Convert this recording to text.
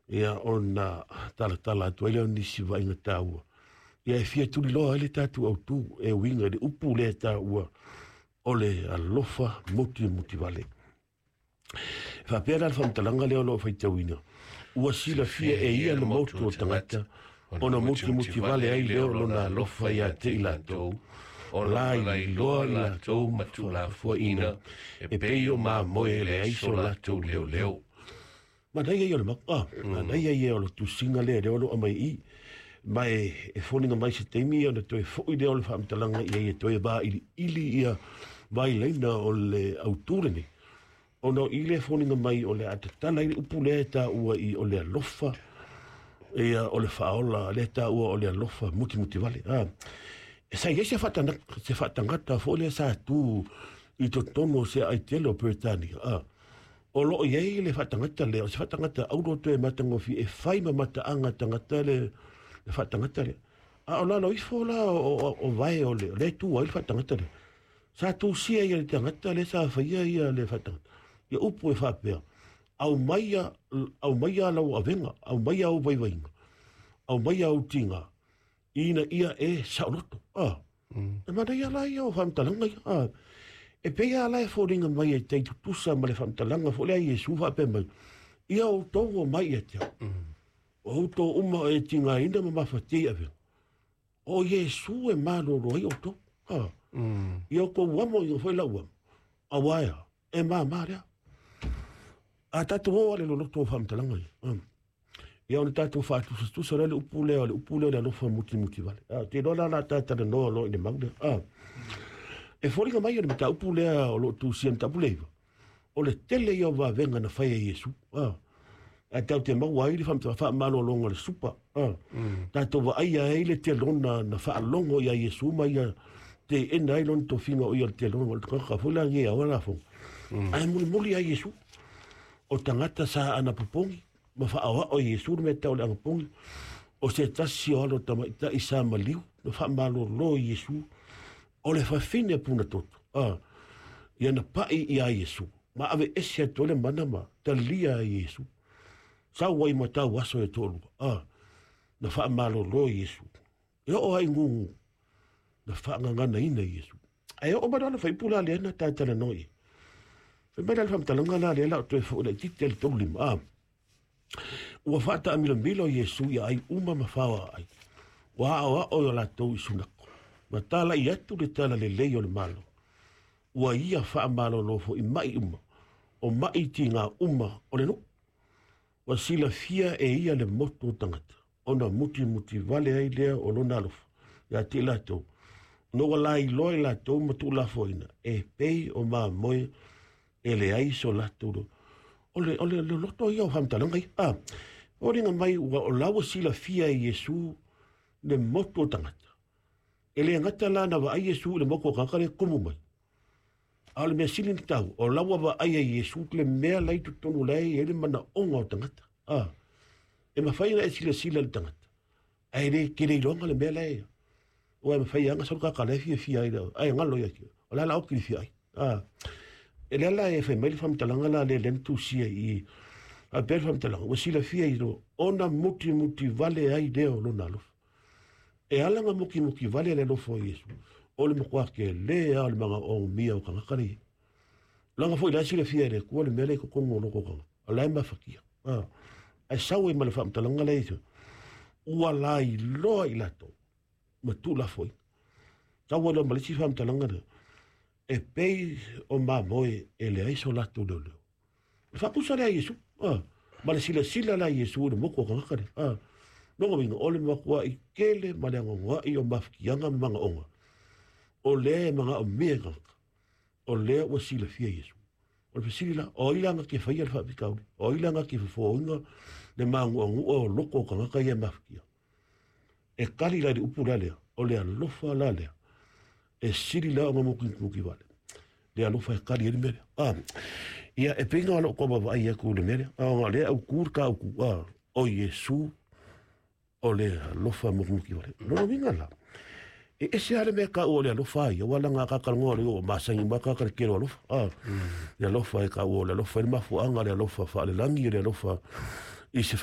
Ia ona talatala atu ai lea o nisi vaaiga taua. Ia e fia tuliloa ai le tatou autu e uiga i le upu lea e taua o le alofa mutimuli vale. E faapea la le faamatalaga lea o lo o faitauina, ua silafia e ia le motu o tagata ona mutimuli vale ai lea o lona alofa ia te i latou, o la iloa i latou ma tuulafoaiina e pei o mamoe e leai so latou leoleo. Manaia ia o le mau, manaia ia o le tusiga lea lea o lo o aumai i i. Ma e foliga mai se taimi ona toe foi lea o le faamatalaga i ai e toe vailiili ia vailaina o le autu lenei. Ona o i lea e foliga mai o le a tatala ai le upu lea e taua i o le alofa, ia o le faaola lea e taua o le alofa mutimuli vale. E sa i ai se faatagata foi lea sa tu i totonu o se aitele o Peretania. O lo o i ai le faatagata lea, o se faatagata auro toe matagofie e fai ma mataaga tagata le faatagata lea. A o lalo ifo la o vae o le tu ai le faatagata lea. Sa tusia ia le tagata lea sa faia ia le faatagata. Ia upu e faapea, aumaia lau avega, aumaia au vaivaiga, aumaia au tiga, ina ia e saoloto. E manaia la ia o faamatalaga ia. E pei lava la e foliga mai e tai tutusa ma le faamatalaga foi lea a Iesu faapea mai, ia outou o mai ia te au. O outou uma e tigaina ma mafatia i avega. O Iesu e malolo ai outou. Ia outou amo ia foi lau amo. Aua ea, e māmā lea. A tatou o ale loloto o faamatalaga ia. Ia ona tatou faatusatusa lea le upu lea, o le upu lea o le alofa mutimuli vale. Te iloa la la talanoa loa i le mau lea. E foliga mai o le mataupu lea o lo o tusia mataupu lea iva, o le tele ia o vavega na fai e Iesu. Ae tatou te maua ai le faamalologa o le supa. Tatou vaaia ai le telona na faalogo ia Iesu ma ia teena ai lona tofiga o ia le telona o le tagata foi la ia o la fo. Ae mulimuli ia Iesu o tagata sa anapopogi ma faaoao Iesu le mea tau le anapogi o se tasi o alo tamaitai sa maliu na faamalolo Iesu o le fafine puna toto. Ia na pai ia Iesu ma ave ese atu le mana ma talia Iesu. Sau ai ma tau aso e toalua. Na faamalolo Iesu. E oo ai gugu na faagaganaina Iesu. Ae oo mai loa le faipula lea na tatalanoa i ai. Fai mai la le faamatalaga la lea la o toe foi laitiiti le 35. Ua faataamilomilo Iesu ia ai uma ma faoa ai. Ua aoao i o latou i sunako. Ma talai atu le tala lelei o le Malo. Ua ia faamalolo foi mai uma. O mai tiga uma o le nuu. Ua silafia e ia le motu o tagata. Ona mutimuli vale ai lea o lona alofa. Ia te i latou. No ua lailoa i latou ma tuulafoaiina e pei o mamoe e leai so latou. O le loto ia o faamatalaga ia. Foliga mai ua o la ua silafia e Iesu le motu o tagata. E le gata la na vaai Iesu i le motu o tagata le tumu mai. A o le mea sili na tau, o la ua vaai e Iesu le mea la i totonu la e i ai le manaoga o tagata. E mafai ona e silasila i le tagata. Ae le tele iloga le mea la e. Ua e mafai lava ona sau kaka la e fiafia ai le ai ngalo ia ki. O la la o kili fia ai. E lea la e fai mai le faamatalaga la lea lea na tusia i a pea le faamatalaga ua silafia i lo ona mutimuli vale ai lea o lona alofa. E ala nga mutimuli vale le alofa o Iesu. O le matua tele a o le magaomia o tagata le. Langa foi la silafia e le Atua le mea lea i totonu o loko tagata. O la e mafatia. Ae sau ai ma le faamatalaga lea i ua lailoa i latou ma tuulafoaiina. Sau ai loa ma le isi faamatalaga lea, e pei o mamoe e leai so latou leoleo. O le faatusa lea a Iesu, ma le silasila la a Iesu i le motu o tagata lea. Lona uiga, o le matuai tele ma le anoanoai o mafatiaga ma manaoga, o lea e manaomia e tagata, o lea ua silafia Iesu. O le fesili la, o ai la na te faia le faafitauli? O ai la na te fofoina le manuanua o loko o tagata ia e mafatia? E kali la i le upu la lea, o le alofa la lea, e sili la ona mutimuli vale. Le alofa e kali ai le mea lea. Ia e pei ona lou tau vaavaai atu i le mea lea, ona lea autu le tautu, o Iesu o le alofa mutimuli vale. Lona uiga la, e ese lava le mea taua o le alofa ia, ua laga tatalanoa le o masani ma tagata le tele o alofa. Le alofa e taua o le alofa i le mafuaaga, le alofa faalelagi, le alofa i se